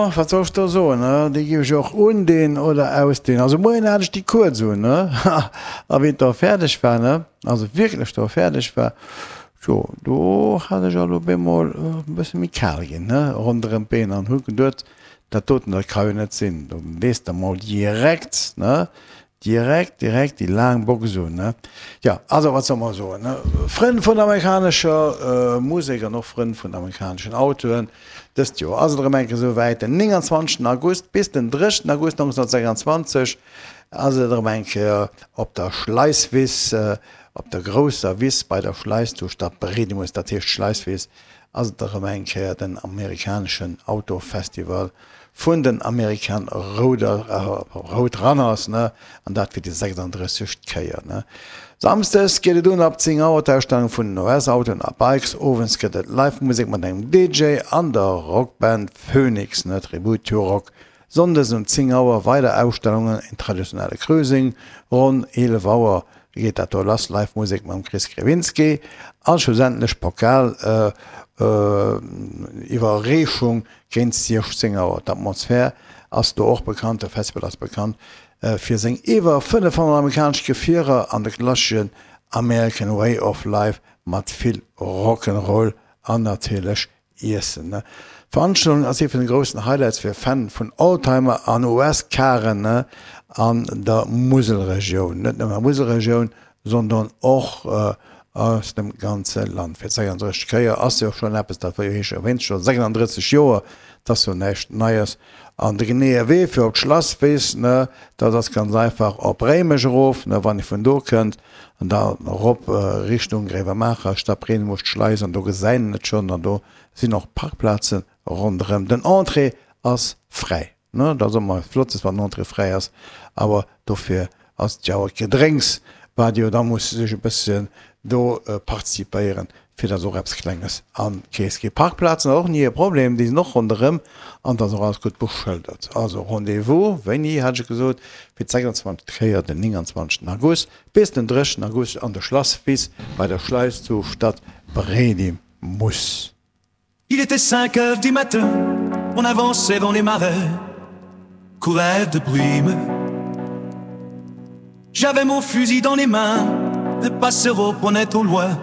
Jo, wat soll ech do soen, ne? Déi géif ech och undinn oder ausdinn. Also moien hat ech déi kuerz un, ne? A wéi et da fäerdeg war, ne, also wierklech da fäerdeg war, jo, do hat ech alt op eemol e bësse méi kal ginn, ne, ronderëm d'Been an hu geduet, dat doten, dat ka jo net sinn. Do lees de mol direkt, ne, Direkt, direkt déi laang Box un, ne? Jo, also wat soll mer soen, ne? Frënn vun der amerikanescher Musek an och Frënn vun amerikaneschen Autoen, dëst Joer ass et erëm eng Kéier esou wäit, den 29 August bis den 3 August 1926 ass et erëm eng Kéier op der Schleisswiss, op der grousser Wiss bei der Schleis zu Stadbriedemes, dat heescht Schleisswiss, ass et erëm eng Kéier den amerikaneschen Autofestival vun den American Roadrunners, ne, an dat fir déi 36. Kéier, ne. Samsdes geet et un ab 10 Auer, d'Ausstellung vun den US-Autoen a Bikes. Owends gëtt et Live-Musek mat engem DJ an der Rockband Phoenix, ne, Tribute to Rock. Sonndes um 10 Auer weider Ausstellungen, een traditionelle Cruising, ronn 11 Auer geet dat do lass, Live-Musek mam Chris Krewinski a schlussendlech Pokal Iwwerreechung Géint 16 Auer. D'Atmosphär ass do och bekannt, de Festival ass bekannt fir seng iwwer 500 amerikanesch Gefierer an de klasseschen American Way of Life mat vill Rock'n'Roll an natierlech Iessen. D'Veranstaltung ass ee vun de groussen Highlights fir Fan vun Oldtimer an US-Caren an der Muselregioun. Net nëmmen an der Muselregioun, sondern och aus dem ganze Land. Fir d'36. Kéier ass jo schonn eppes, dat wéi ech erwähnt scho 36 Joer, dat ass jo näischt Neies. An de geneeë Wee fir op d'Schlasswiss, ne, dat ass ganz einfach op Réimech erof, ne, wann ee vun do kënnt, an da erop Richtung Gréiwemaacher, Stadbriedemes, d'Schleis, an do gesäit een et schonn, an do sinn och Parkplaze ronderëm. Den Entrée ass fräi. Ne, dat ass ëmmer flott, wann den Entrée fräi ass, awer dofir ass et jo awer d'Gedrénks, wat jo da muss sech e bësschen do participéieren, fir datt och eppes Klenges an d'Keess geet. Parkplazen ass och ni e Problem, déi sinn och ronderëm an et ass och alles gutt beschëldert. Also Rendez-vous, wéini hat ech gesot, fir d'26. Kéier den 29. August bis den 30. August an der Schlasswiss bei der Schleis zu Stadbriedemes. Il était 5 heures du matin, on avançait dans les marais, couverts de brume. J'avais mon fusil dans les mains, le passereau prenait au loin.